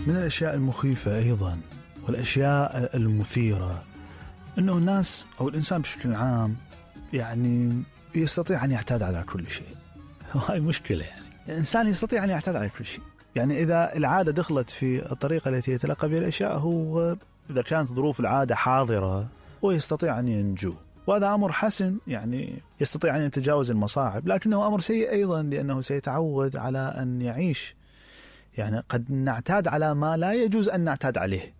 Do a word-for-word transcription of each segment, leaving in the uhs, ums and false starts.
من الأشياء المخيفة أيضا والأشياء المثيرة أنه الناس أو الإنسان بشكل عام يعني يستطيع أن يعتاد على كل شيء. وهي مشكلة، يعني الإنسان يستطيع أن يعتاد على كل شيء. يعني إذا العادة دخلت في الطريقة التي يتلقى بها الأشياء، هو إذا كانت ظروف العادة حاضرة هو يستطيع أن ينجو، وهذا أمر حسن، يعني يستطيع أن يتجاوز المصاعب. لكنه أمر سيء أيضا لأنه سيتعود على أن يعيش، يعني قد نعتاد على ما لا يجوز أن نعتاد عليه.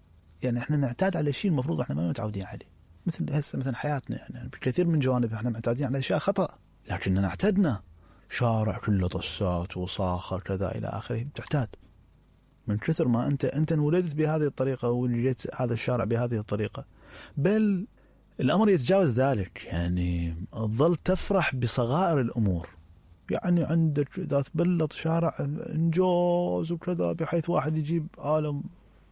يعني إحنا نعتاد على شيء المفروض إحنا ما متعودين عليه، مثل هسه مثل حياتنا، يعني بكثير من جوانب إحنا معتادين على أشياء خطأ، لكننا اعتدنا شارع كله طسات وصاخة كذا إلى آخره، بتعتاد من كثر ما أنت أنت انولدت بهذه الطريقة ولجيت هذا الشارع بهذه الطريقة. بل الأمر يتجاوز ذلك، يعني تظل تفرح بصغائر الأمور. يعني عندك إذا تبلط شارع إنجاز وكذا، بحيث واحد يجيب عالم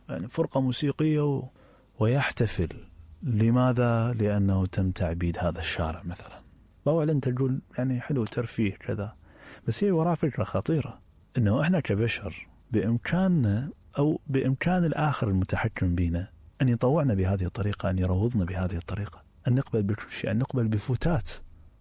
يعني فرقة موسيقية و... ويحتفل. لماذا؟ لأنه تم تعبيد هذا الشارع مثلا. بقول أنت تقول يعني حلو ترفيه كذا، بس هي وراء فكرة خطيرة، إنه إحنا كبشر بإمكاننا أو بإمكان الآخر المتحكم بنا أن يطوعنا بهذه الطريقة، أن يروضنا بهذه الطريقة، أن نقبل بكل شيء، أن نقبل بفتات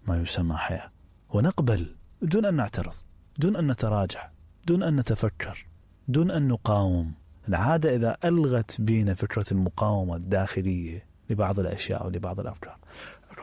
ما يسمى حياة، ونقبل دون أن نعترض، دون أن نتراجع، دون أن نتفكر، دون أن نقاوم. العادة إذا ألغت بينا فكرة المقاومة الداخلية لبعض الأشياء أو لبعض الأفكار،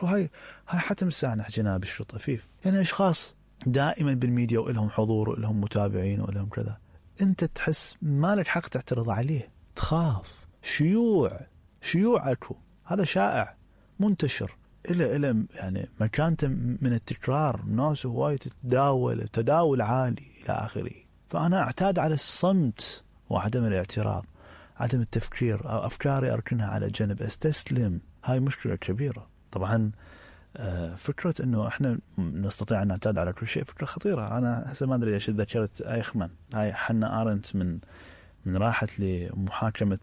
هاي هاي حتم الساعة جناب الشيء طفيف. يعني أشخاص دائما بالميديا وإلهم حضور وإلهم متابعين وإلهم كذا، أنت تحس ما لك حق تعترض عليه، تخاف. شيوع شيوع أكو، هذا شائع منتشر إلى إلى يعني مكانته من التكرار، الناس هواية تتداول تداول عالي إلى آخره. فأنا أعتاد على الصمت وعدم الاعتراض، عدم التفكير، أو أفكاري أركنها على جنب، أستسلم. هاي مشكلة كبيرة طبعا. فكرة أنه إحنا نستطيع أن نعتاد على كل شيء فكرة خطيرة. أنا هسه ما أدري ليش ذكرت أيخمن، هاي حنا آرنت من من راحت لمحاكمة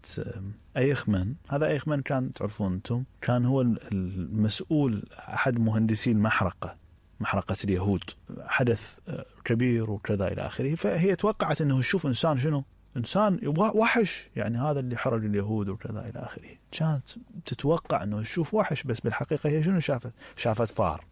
أيخمن. هذا أيخمن كان تعرفون أنتم كان هو المسؤول، أحد مهندسي المحرقة، محرقة اليهود، حدث كبير وكذا إلى آخره. فهي توقعت أنه يشوف إنسان شنو إنسان وحش، يعني هذا اللي حرج اليهود وكذا إلى آخره. كانت تتوقع أنه يشوف وحش، بس بالحقيقة هي شنو شافت؟ شافت فار.